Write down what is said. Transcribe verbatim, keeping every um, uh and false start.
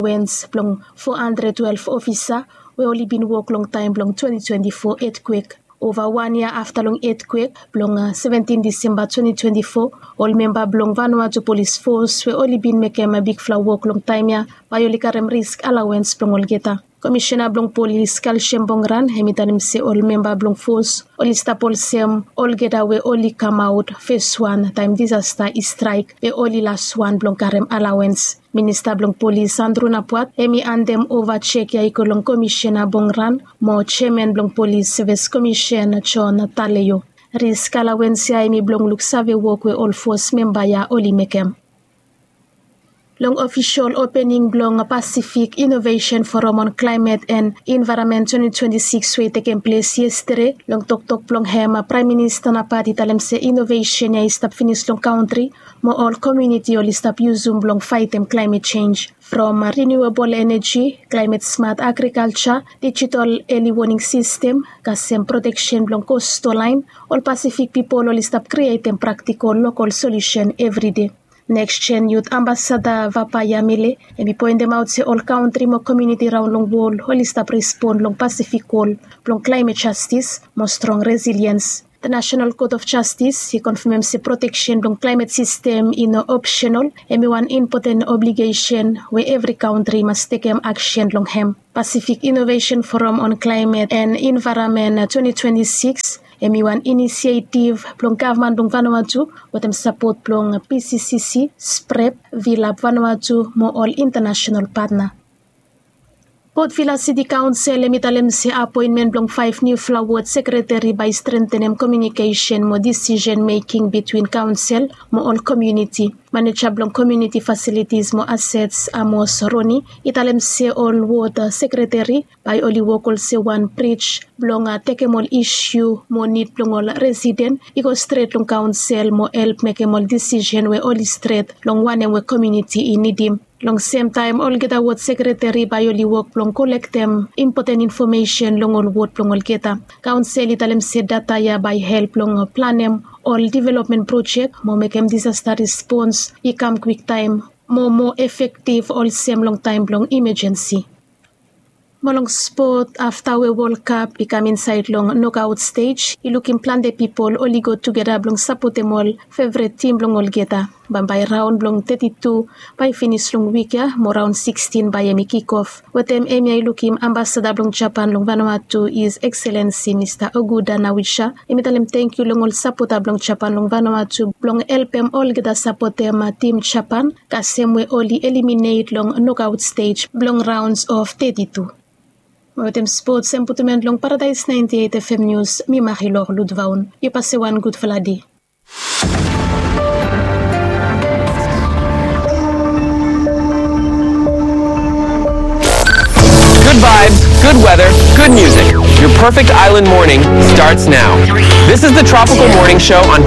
Wens blong four hundred twelve ofisa we oli bin wok long taem blong twenty twenty-four etkwek. Ova wan yia afta long etkwek blong seventeen Disemba twenty twenty-four, ol memba blong Vanuatu Polis Fos we oli bin mekem bigfala wok long taem ya bae oli karem risk alawens blong olgeta. Komishena blong polis Kalsiam Bongran hem i talem se ol memba blong fos oli stap olsem olgeta we oli kamaot feswan taem disasta i straek be oli laswan blong karem alawens. Minista blong polis Andrew Napuat hem i andem ova jek ya i go long Komishena Bongran mo jeaman blong polis sevis komisen John Taleo. Risk alawens ya hem i blong luksave wok we ol fos memba ya oli mekem. Long ofisol opening blong Pacific Innovation Forum on Climate and Environment twenty twenty-six we i tekem ples yestede, long toktok blong hem Praem Minista Napuat i talem se inovesen ya i stap finis long kantri mo ol komuniti oli stap yusum blong faetem klaemet jenj. From renewable energy, climate smart agriculture, digital early warning system, kasem proteksen blong coastal line, ol Pacific pipol oli stap krietem praktikol lokol solusen evride. Next Gen Youth Ambassador Vapa Yamele hem i poentemaot se ol kantri mo komuniti raon long wol oli stap respon long Pacific kol blong climate justice mo strong resilience. The National Court of Justice i konfamem se proteksen blong climate system i no optional, hem i wan impoten obligesen we evri kantri mas tekem aksen long hem. Pacific Innovation Forum on Climate and Environment twenty twenty-six hem i wan inisietiv blong gavman blong Vanuatu wetem sapot blong P C C C, SPREP, VLAP Vanuatu mo ol intanasenal patna. Port Vila City Council hem i talem se apoenmen blong faef niufala wod sekreteri bae i strengtenem komiunikesen mo decision making between council mo ol komuniti. Maneja blong Community Facilities mo Assets Amos Roni i talem se ol wod sekreteri bae oli wok olsem wan brij blong tekem ol isu mo nid blong ol residen i go stret long council mo help mekem ol decision we oli stret long wanem we komuniti i nidim. Long semtaem olgeta wod sekreteri bae oli wok blong kolektem impoten infomesen long ol wod blong olgeta. Kaonsel i talem se data ya bae help long planem ol developmen projek mo mekem disasta respons i kam kwiktaem mo moa efektiv olsem long taem blong imajensi. Mo long spot, afta we Wol Kap i kam insaed long nokaot stej, i lukim plante pipol oli go tugeta blong sapotem ol fevret tim blong olgeta. Bambae raon blong teti tu bae i finis long wik ya mo raon sikstin bae hemi kikof. Wetem hemia i lukim Ambasada blong Japan long Vanuatu, His Excellency Mista Okuda Nawisha, hemi talem tangkiu long ol sapota blong Japan long Vanuatu blong helpem olgeta sapotem tim Japan kasem we oli eliminate long nokaot stej blong raons of teti tu. Mo wetem spots, hemi putum en long Paradaes naenti eit FM Nius, mi Marilor Ludvaun. Yu pase wan gudfala dei. Good vibes, good weather, good music. Your perfect island morning starts now. This is the Tropical Morning Show on